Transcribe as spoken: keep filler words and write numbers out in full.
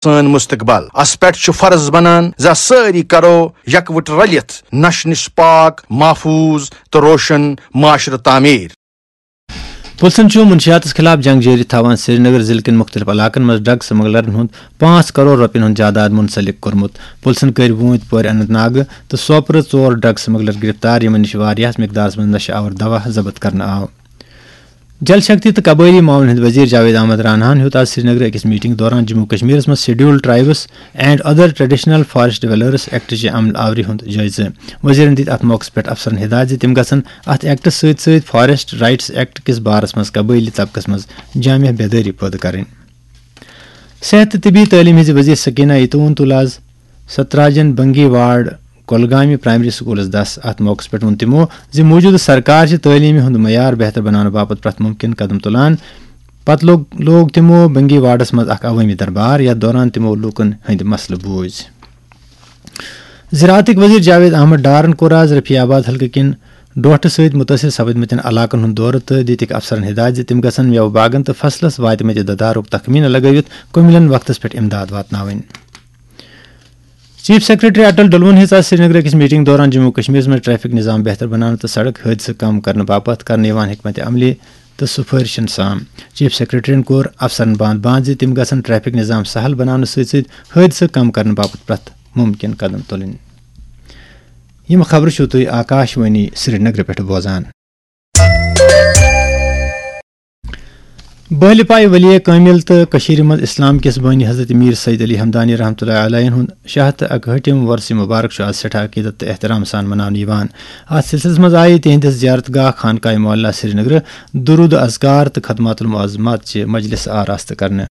سٲنۍ مستقبل۔ اس پٮ۪ٹھ چھُ فرض بنان زِ سٲری کرو یکوٹ رلِتھ نشہٕ نِش پاک، محفوظ تہٕ روشن معاشرٕ تعمیٖر۔ پُلسن چھُ منشیاتس خلاف جنگ جٲری تھاوان سرینگر ضلعہٕ کٮ۪ن مُختٔلِف علاقن منٛز ڈرگ سمگلرن ہُنٛد پانٛژھ کرور رۄپین ہُنٛد جائیداد منسلک کوٚرمُت۔ پُلسن کٔرۍ وٲنٛتۍ پورِ اننت ناگہٕ تہٕ سوپرٕ ژور ڈرگ سمگلر گرفتار، یِمن نِش واریاہس مقدارس منٛز نشہٕ آور دوا ضبط کرنہٕ آو۔ جل شکتی تہٕ قبٲیلی معاملن ہٕنٛدۍ وزیر جاوید احمد راناہن ہیوٚت آز سرینگرٕ أکِس میٹنگ دوران جموں کشمیرس منٛز scheduled tribes and other traditional forest dwellers ایکٹٕچہِ عمل آوری ہُنٛد جٲیزٕ۔ وزیرن دِتۍ اتھ موقعس پٮ۪ٹھ افسرن ہدایت زِ تِم گژھن اتھ ایکٹس سۭتۍ سۭتۍ فارسٹ رائٹس ایکٹ کِس بارس منٛز قبٲیلی طبقس منٛز جامع بیدٲری پٲدٕ کرٕنۍ۔ صحت تہٕ طبی تعلیٖم ہٕنٛزِ وزیر سکینہ ایتون تُل آز ستراجن بنگی وارڈ کۄلگامہِ پرائمری سکولس دس۔ اتھ موقعس پٮ۪ٹھ ووٚن تِمو زِ موجودٕ سرکار چھِ تعلیٖمہِ ہُنٛد معیار بہتر بناونہٕ باپتھ پرٛٮ۪تھ مُمکِن قدم تُلان۔ پتہٕ لوٚگ، لوگ تِمو بنگی وارڈس منٛز اکھ عوٲمی دربار، یتھ دوران تِمو لوٗکن ہٕنٛدۍ مسلہٕ بوٗزۍ۔ زراعتٕکۍ وزیر جاوید احمد ڈارن کوٚر آز رفیع آباد حلقہٕ کٮ۪ن ڈوٹھٕ سۭتۍ مُتٲثِر سپدمٕتٮ۪ن علاقن ہُنٛد دورٕ تہٕ دِتِکھ افسرن ہدایت زِ تِم گژھن مٮ۪وٕ باغن تہٕ فصلس واتمٕتہِ ددارُک تخمینہٕ لگٲوِتھ کُمِلٮ۪ن وقتس پٮ۪ٹھ امداد واتناوٕنۍ۔ چیف سیکرٹری اٹل ڈلون ہیژ آز سرینگرٕ أکِس میٹنگ دوران جموں کشمیرس منٛز ٹریفک نظام بہتر بناونہٕ تہٕ سڑک حٲدثہٕ کم کرنہٕ باپتھ کرنہٕ یِوان حکمت عملی تہٕ سفٲرشن سان۔ چیف سیکرٹریَن کوٚر افسرن باند باند زِ تِم گژھن ٹریفک نظام سہل بناونہٕ سۭتۍ سۭتۍ حٲدثہٕ کم کرنہٕ باپتھ پرٛٮ۪تھ مُمکِن قدم تُلٕنۍ۔ یِم خبرٕ چھِو تُہۍ آکاش وانی سرینگرٕ پٮ۪ٹھ بوزان۔ بہلہِ پایہِ ولی کٲمِل تہٕ کٔشیٖرِ منٛز اسلام کِس بٲنی حضرت میر سید علی ہمدانی رحمتہ اللہ علیہ ہُنٛد شاہ تہٕ اکہٲٹھِم وۄرثہِ مُبارک چھُ آز سٮ۪ٹھاہ عقیدت تہٕ احترام سان مناونہٕ یِوان۔ اتھ سلسلس منٛز آیہِ تِہنٛدِس زیارت گاہ خانقاہ معلیٰ سرینگرٕ درود اذکار تہٕ خدمات المعظمات چہِ مجلس آراستہٕ کرنہٕ۔